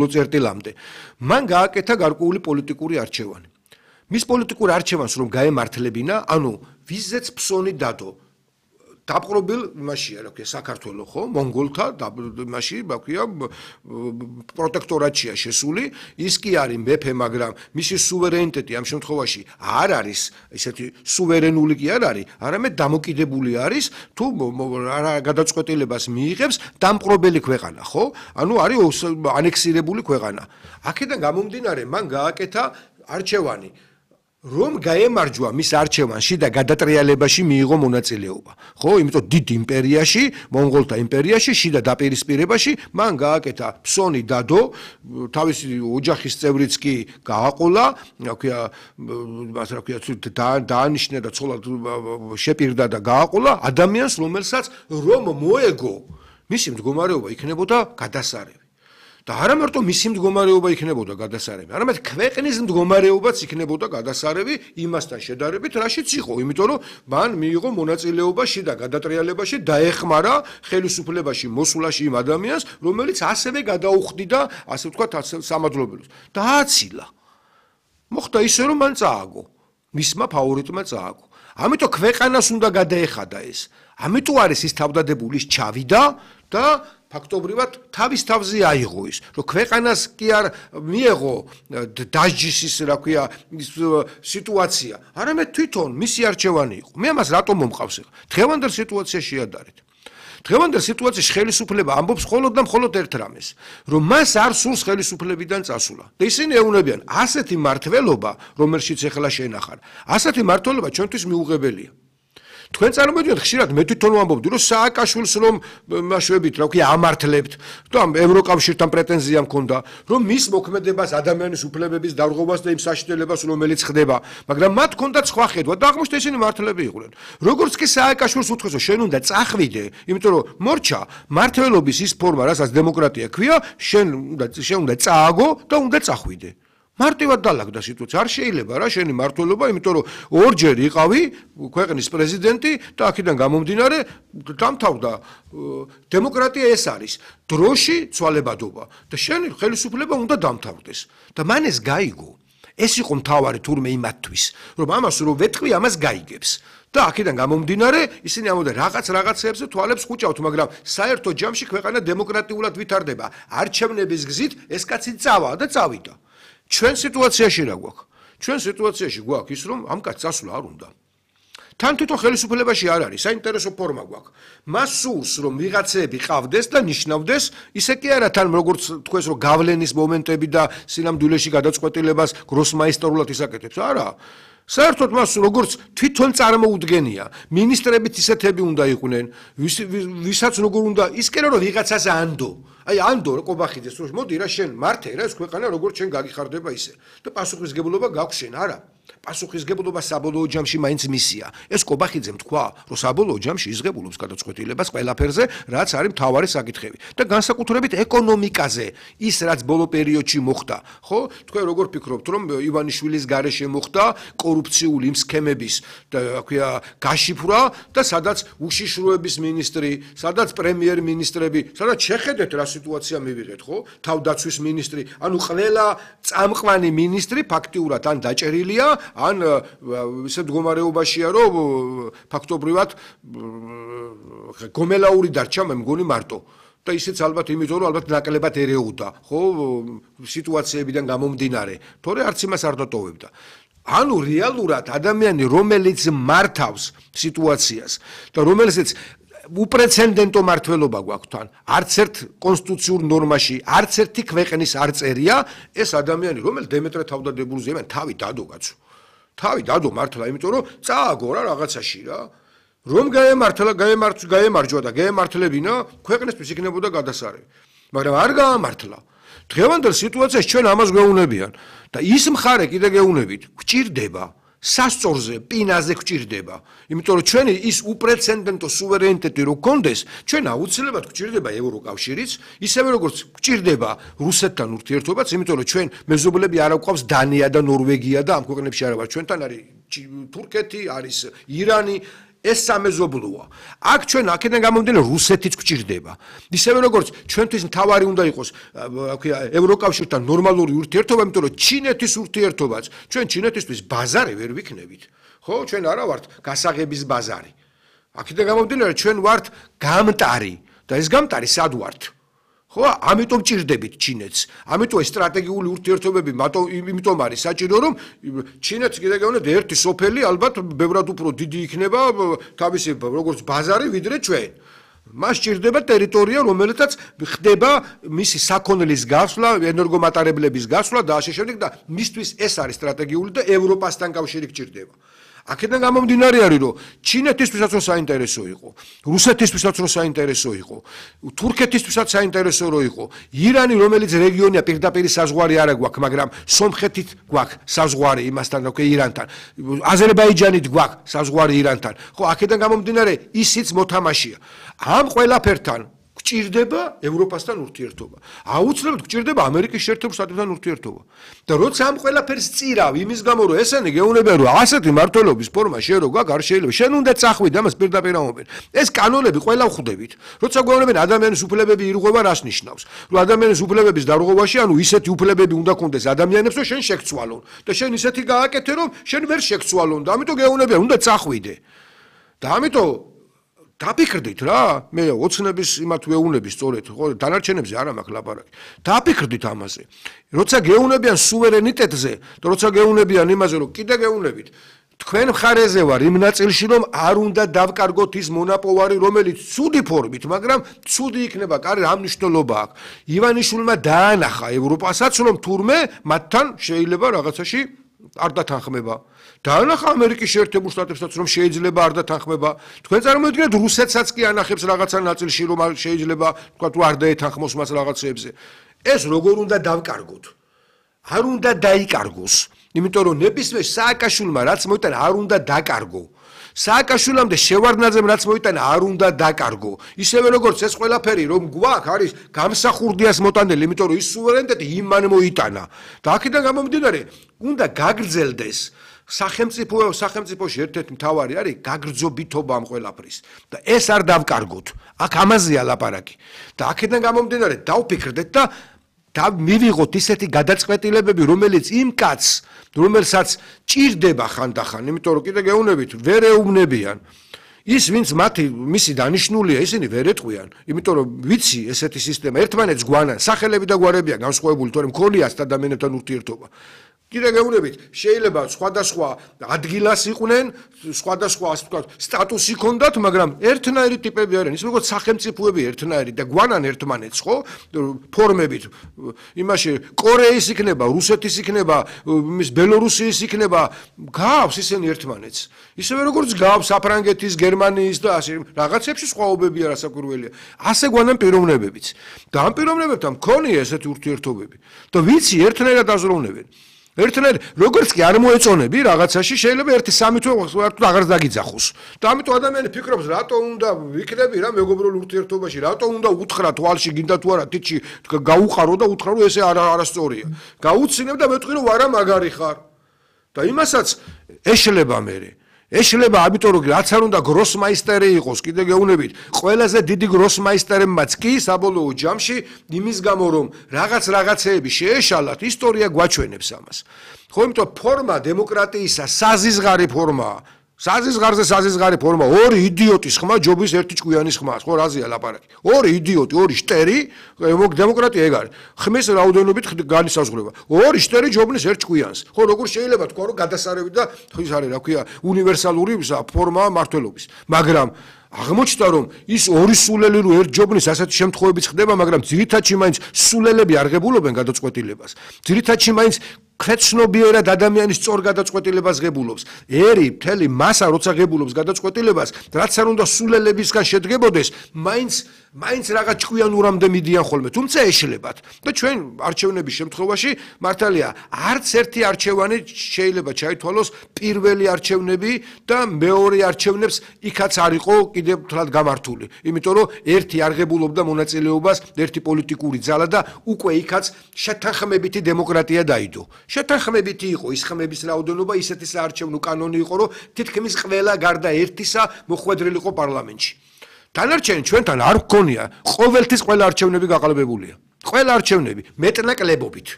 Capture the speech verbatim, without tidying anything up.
წერტილამდე. მან გააკეთა გარკვეული პოლიტიკური არჩევანი. მის პოლიტიკურ არჩევანს რომ გაემართლებინა, ანუ ვიზეც ფსონი დადო. დაპყრობილ იმაშია, რა ქვია, საქართველო ხო, მონგოლთა იმაში, რა ქვია, პროტექტორატია შესული, ის კი არის მეფე, მაგრამ მისი სუვერენიტეტი ამ შემთხვევაში არ არის, ესეთი სუვერენული კი არ არის, არამედ დამოკიდებული არის თუ რა გადაწყვეტილებას მიიღებს დამპყრობელი ქვეყანა, ხო? ანუ არის ანექსირებული ქვეყანა. აქედან გამომდინარე, მან გააკეთა არჩევანი რომ გაემარჯვა მის არჩევანში და გადატრიალებაში მიიღო მონაწილეობა. ხო, იმიტომ დიდ იმპერიაში, მონღოლთა იმპერიაში, შიდა დაპირისპირებაში მან გააკეთა ფსონი დადო, თავისი ოჯახის წევრიც კი გააყოლა, რა ქვია, მას რა ქვია, დაანიშნა და ცოლად შეპირდა და გააყოლა ადამიანს, რომელსაც რომ მოეგო, მისი მდგომარეობა იქნებოდა გადასარევი. და არა მარტო მისი მდგომარეობა იქნებოდა გადასარევი, არამედ ქვეყნის მდგომარეობაც იქნებოდა გადასარევი იმასთან შედარებით, რაშიც იყო, იმიტომ რომ მან მიიღო მონაწილეობა შიდა გადატრიალებაში, დაეხმარა ხელისუფლებაში მოსვლაში იმ ადამიანს, რომელიც ასევე გადაუხდიდა, ასე ვთქვათ, სამადლობელოს. დააცილა. მოხდა ისე, რომ მან წააგო. მისმა ფავორიტმა წააგო. ამიტომ ქვეყანას უნდა გადაეხადა ეს. ამიტომ არის ის თავდადებული, ის ჩავიდა და ფაქტობრივად თავის თავზე აიღო ის, რომ ქვეყანას კი არ მიეღო დაჯის რა ქვია სიტუაცია, არამედ თვითონ მისი არჩევანი იყო. მე ამას რატომ მომყავს ახლა? დღევანდელ სიტუაციაში შეადარეთ. დღევანდელ სიტუაციაში ხელისუფლება ამბობს მხოლოდ და მხოლოდ ერთ რამეს, რომ მას არ სურს ხელისუფლებიდან წასვლა. და ისინი ეუბნებიან, ასეთი მართლობა, რომელშიც ახლა შენახარ, ასეთი მართლობა ჩვენთვის მიუღებელია. თქვენ წარმოვიდგინეთ, ხშირად მე თვითონ ვამბობდი, რომ სააკაშვილს რომ მაშვებით, რა ვქია, ამართლებთ, და ევროკავშირთან პრეტენზია მქონდა, რომ მის მოქმედებას, ადამიანის უფლებების დარღვევას და იმ საშინელებას, რომელიც ხდება, მაგრამ მათ ჰქონდათ სხვა ხედვა და აღმოჩნდა ისინი მართლები იყვნენ. როგორც კი სააკაშვილს უთქვეს, რომ შენ უნდა წახვიდე, იმიტომ რომ მორჩა, მართლობის ის ფორმა, რასაც დემოკრატია ქვია, შენ უნდა შენ უნდა წააგო და უნდა წახვიდე. მარტივად დაალაგდა სიტუაცია. არ შეიძლება რა შენი მართლობა, იმიტომ რომ ორჯერ იყავი ქვეყნის პრეზიდენტი და აქედან გამომდინარე დამთავრდა დემოკრატია ეს არის დროში ცვალებადობა და შენი ხელისუფლება უნდა დამთავრდეს. და მან ეს გაიგო. ეს იყო მთავარი თურმე იმათთვის, რომ ამას რო ვეთქვი, ამას გაიგებს. და აქედან გამომდინარე, ისინი ამბობდნენ რაღაც რაღაცებზე თვალებს ხუჭავთ, მაგრამ საერთო ჯამში ქვეყანა დემოკრატიულად ვითარდება. არჩევნების გზით ეს კაცი წავა და წავიდა. ჩვენ სიტუაციაში რა გვაქვს? ჩვენ სიტუაციაში გვაქვს ის, რომ ამ კაცს წასვლა არ უნდა. თან თვითონ ხელისუფლებაში არ არის, საინტერესო ფორმა გვაქვს. მას სურს, რომ ვიღაცები ყავდეს და ნიშნავდეს, ისე კი არა თან როგორც თქვეს, რომ გავლენის მომენტები და სინამდვილეში გადაწყვეტილებას გროსმაისტრულად ისაკეთებს. არა. საერთოდ მას როგორც თვითონ წარმოუდგენია, მინისტრებიც ისეთები უნდა იყვნენ, ვისაც როგორ უნდა, ის კი არა რომ ვიღაცას ანდო. აი ანდო ყობახიძეს რომ მოდი რა შენ მართე რა ეს ქვეყანა როგორც შენ გაგიხარდება ისე. და პასუხისგებლობა გაქვს შენ, არა. პასუხისგებლობა საბოლოო ჯამში მაინც მისია. ეს ყობახიძემ თქვა, რომ საბოლოო ჯამში იზღებულობს გადაწყვეტილებას ყველაფერზე, რაც არის მთავარი საკითხები. და განსაკუთრებით ეკონომიკაზე, ის რაც ბოლო პერიოდში მოხდა, ხო? თქვენ როგორ ფიქრობთ, რომ ივანიშვილის გარეშე მოხდა კორუფციული იმ სქემების და რა ქვია გაშიფრვა და სადაც უშიშროების მინისტრი, სადაც პრემიერ-მინისტრები, სადაც შეხედეთ რა სიტუაცია მივიღეთ, ხო? თავდაცვის მინისტრი, ანუ ყველა წამყვანი მინისტრი ფაქტიურად ან დაჭერილია, ან ისე მდგომარეობაშია, რომ ფაქტობრივად გომელაური დარჩა, მე მგონი მარტო. და ისიც ალბათ იმიტომ, რომ ალბათ ნაკლებად ერეოდა, ხო, სიტუაციებიდან გამომდინარე, თორე არც იმას არ დატოვებდა. ანუ რეალურად ადამიანი, რომელიც მართავს სიტუაციას და რომელსაც უპრეცედენტო მართლობა გვაქვს თან, არც ერთ კონსტიტუციურ ნორმაში, არც ერთი ქვეყნის არ წერია, ეს ადამიანი, რომელიც დემეტრე თავდადებულზე, მე თავი დადო კაცო. თავი დადო მართლა, იმიტომ რომ წააგო რა რაღაცაში რა. რომ გაემართლა, გაემარჯვა და გაემართლებინა, ქვეყნისთვის იქნებოდა გადასარევი. მაგრამ არ გაამართლა. დღევანდელ სიტუაციაში ჩვენ ამას გვეუბნებიან და ის მხარე კიდე გეუბნებით, გვჭირდება სასწორზე, პინაზე გვჭირდება. იმიტომ რომ ჩვენი ის უპრეცედენტო სუვერენიტეტი რო გქონდეს, ჩვენ აუცილებლად გვჭირდება ევროკავშირიც, ისევე როგორც გვჭირდება რუსეთთან ურთიერთობაც, იმიტომ რომ ჩვენ მეზობლები არ გვყავს დანია და ნორვეგია და ამ ქვეყნებში არა ვარ. ჩვენთან არის თურქეთი, არის ირანი. ეს სამეზობლოა. აქ ჩვენ აქედან გამომდინარე რუსეთიც გვჭირდება. ისევე როგორც ჩვენთვის მთავარი უნდა იყოს ევროკავშირთან ნორმალური ურთიერთობა, იმიტომ რომ ჩინეთის ურთიერთობაც ჩვენ ჩინეთისთვის ბაზარი ვერ ვიქნებით. ხო, ჩვენ არა ვართ გასაღების ბაზარი. აქედან გამომდინარე ჩვენ ვართ გამტარი და ეს გამტარი სად ვართ? ხო, ამიტომ ჭირდებით ჩინეთს. ამიტომ ეს სტრატეგიული ურთიერთობები, იმიტომ არის საჭირო, რომ ჩინეთს კიდე გეუბნებით ერთი სოფელი ალბათ ბევრად უფრო დიდი იქნება თავისი როგორც ბაზარი ვიდრე ჩვენ. მას ჭირდება ტერიტორია, რომელიცაც ხდება მისი საქონლის გასვლა, ენერგომატარებლების გასვლა და ასე შემდეგ და მისთვის ეს არის სტრატეგიული და ევროპასთან კავშირი გჭირდება. აქედან გამომდინარე არის, რომ ჩინეთისთვისაც რომ საინტერესო იყო, რუსეთისთვისაც რომ საინტერესო იყო, თურქეთისთვისაც საინტერესო რო იყო, ირანი, რომელიც რეგიონია პირდაპირ საზღვარი არ აქვს, მაგრამ სომხეთით გვაქვს საზღვარი იმასთან, რა ქვია, ირანთან, აზერბაიჯანით გვაქვს საზღვარი ირანთან. ხო, აქედან გამომდინარე ისიც მოთამაშია. ამ ყველაფერთან გჭირდება ევროპასთან ურთიერთობა. აუცილებლად გჭირდება ამერიკის შეერთებულ შტატებთან ურთიერთობა. და როცა ამ ყველაფერს წირავ, იმის გამო რომ ესენი გეუბნებიან, რომ ასეთი მართლობის ფორმა შენ რო გაქვს, არ შეიძლება. შენ უნდა წახვიდე ამას პირდაპირ ამობენ. ეს კანონები ყველა ვხვდებით. როცა გეუბნებიან ადამიანის უფლებები ირღვევა, რას ნიშნავს? რომ ადამიანის უფლებების დარღვევაში, ანუ ისეთი უფლებები უნდა გქონდეს ადამიანებს, რომ შენ შეგცვალონ. და შენ ისეთი გააკეთე, რომ შენ ვერ შეგცვალონ და ამიტომ გეუბნებიან, უნდა წახვიდე. და ამიტომ დაფიქრდით რა, მე ოცნების იმათ ვეუბნები სწორედ, ხო, დანარჩენებზე არ მაქვს ლაპარაკი. დაფიქრდით ამაზე. როცა გეუბნებიან სუვერენიტეტზე და როცა გეუბნებიან იმაზე, რომ კიდე გეუბნებით, თქვენ მხარეზე ვარ იმ ნაწილში, რომ არ უნდა დავკარგოთ ის მონოპოლარი, რომელიც ცუდი ფორმით, მაგრამ ცუდი იქნება, კარი რა მნიშვნელობა აქვს. ივანიშვილმა დაანახა ევროპასაც, რომ თურმე მათთან შეიძლება რაღაცაში არ დათანხმება. დაანახა ამერიკის შეერთებულ შტატებსაც, რომ შეიძლება არ დათანხმება. თქვენ წარმოიდგინეთ რუსეთსაც კი ანახებს რაღაცა ნაწილში, რომ შეიძლება თქვა თუ არ დაეთანხმოს მას რაღაცებზე. ეს როგორ უნდა დავკარგოთ? არ უნდა დაიკარგოს. იმიტომ რომ ნებისმიერ სააკაშვილმა რაც მოიტანა არ უნდა დაკარგო. სააკაშვილამდე შევარდნაძემ რაც მოიტანა არ უნდა დაკარგო. ისევე როგორც ეს ყველაფერი რომ გვაქვს არის გამსახურდიას მოტანილი, იმიტომ რომ ის სუვერენიტეტი იმან მოიტანა. და აქედან გამომდინარე უნდა გაგრძელდეს სახელმწიფო სახელმწიფოში ერთ-ერთი მთავარი არის გაგრძობითობა ამ ყველაფრის და ეს არ დავკარგოთ. აქ ამაზეა ლაპარაკი. და აქედან გამომდინარე დავფიქრდეთ და და მივიღოთ ისეთი გადაწყვეტილებები, რომელიც იმ კაცს, რომელსაც ჭირდება ხანდახან, იმიტომ რომ კიდე გეუბნებით, ვერ ეუბნებიან. ის ვინც მათი მისი დანიშნულია, ისინი ვერ ეტყვიან, იმიტომ რომ ვიცი ესეთი სისტემა ერთმანეთს გვანან, სახელები და გვარებია განსხვავებული, თორემ მქონიათ ადამიანებთან ურთიერთობა. კიდე გეუბნებით, შეიძლება სხვადასხვა ადგილას იყვნენ, სხვადასხვა ასე ვთქვათ, სტატუსი ჰქონდათ, მაგრამ ერთნაირი ტიპები არიან, ის როგორც სახელმწიფოები ერთნაირი და გვანან ერთმანეთს, ხო? ფორმებით. იმაში კორეის იქნება, რუსეთის იქნება, იმის ბელორუსიის იქნება, გავს ისინი ერთმანეთს. ისევე როგორც გავს საფრანგეთის, გერმანიის და ასე რაღაცებში სხვაობებია რასაკვირველია. ასე გვანან პიროვნებებიც. და ამ პიროვნებებთან მქონია ესეთი ურთიერთობები. და ვიცი ერთნაირად აზროვნებენ. ერთნაირ როგორც კი არ მოეწონები რაღაცაში შეიძლება ერთი სამი თვე აღარ დაგიძახოს. და ამიტომ ადამიანი ფიქრობს რატო უნდა ვიქნები რა მეგობრულ ურთიერთობაში, რატო უნდა უთხრა თვალში გინდა თუ არა თითში გაუყარო და უთხრა რომ ესე არასწორია. გაუცინებ და მეტყვი რომ არა მაგარი ხარ. და იმასაც ეშლება მე. ეშლება ამიტომ რომ რაც არ უნდა გროსმაისტერი იყოს, კიდე გეუბნებით, ყველაზე დიდი გროსმაისტერებმაც კი საბოლოო ჯამში იმის გამო რომ რაღაც რაღაცეები შეეშალათ, ისტორია გვაჩვენებს ამას. ხო, იმიტომ ფორმა დემოკრატიისა საზიზღარი ფორმაა. საზიზღარზე საზიზღარი ფორმა, ორი იდიოტის ხმა ჯობის ერთი ჭკვიანის ხმას, ხო, რაზეა ლაპარაკი. ორი იდიოტი, ორი შტერი, დემოკრატია ეგ არის. ხმის რაოდენობით განისაზღვრება. ორი შტერი ჯობნის ერთ ჭკვიანს. ხო, როგორ შეიძლება თქვა, რომ გადასარევი და ის არის, რა ქვია, უნივერსალური ფორმაა მართლობის. მაგრამ აღმოჩნდა რომ ის ორი სულელი რო ერთ ჯობნის ასეთი შემთხვევებიც ხდება, მაგრამ ძირითადში მაინც სულელები არ ღებულობენ გადაწყვეტილებას. ძირითადში მაინც ქვეცნობიერად ადამიანის სწორ გადაწყვეტილებას ღებულობს. ერი მთელი მასა როცა ღებულობს გადაწყვეტილებას, რაც არ უნდა სულელებისგან შედგებოდეს, მაინც მაინც რაღაც ჭკვიანურამდე მიდიან ხოლმე, თუმცა ეშლებათ. და ჩვენ არჩევნების შემთხვევაში მართალია, არც ერთი არჩევანი შეიძლება ჩაითვალოს პირველი არჩევნები და მეორე არჩევნებს იქაც არ იყო კიდევ თლად გამართული. იმიტომ რომ ერთი არღებულობდა მონაწილეობას, ერთი პოლიტიკური ძალა და უკვე იქაც შეთანხმებითი დემოკრატია დაიდო. შეთანხმებითი იყო ის ხმების რაოდენობა, ისეთი საარჩევნო კანონი იყო, რომ თითქმის ყველა გარდა ერთისა მოხვედრილი იყო პარლამენტში. დანარჩენი ჩვენთან არ გქონია, ყოველთვის ყველა არჩევნები გაყალბებულია. ყველა არჩევნები მეტნაკლებობით.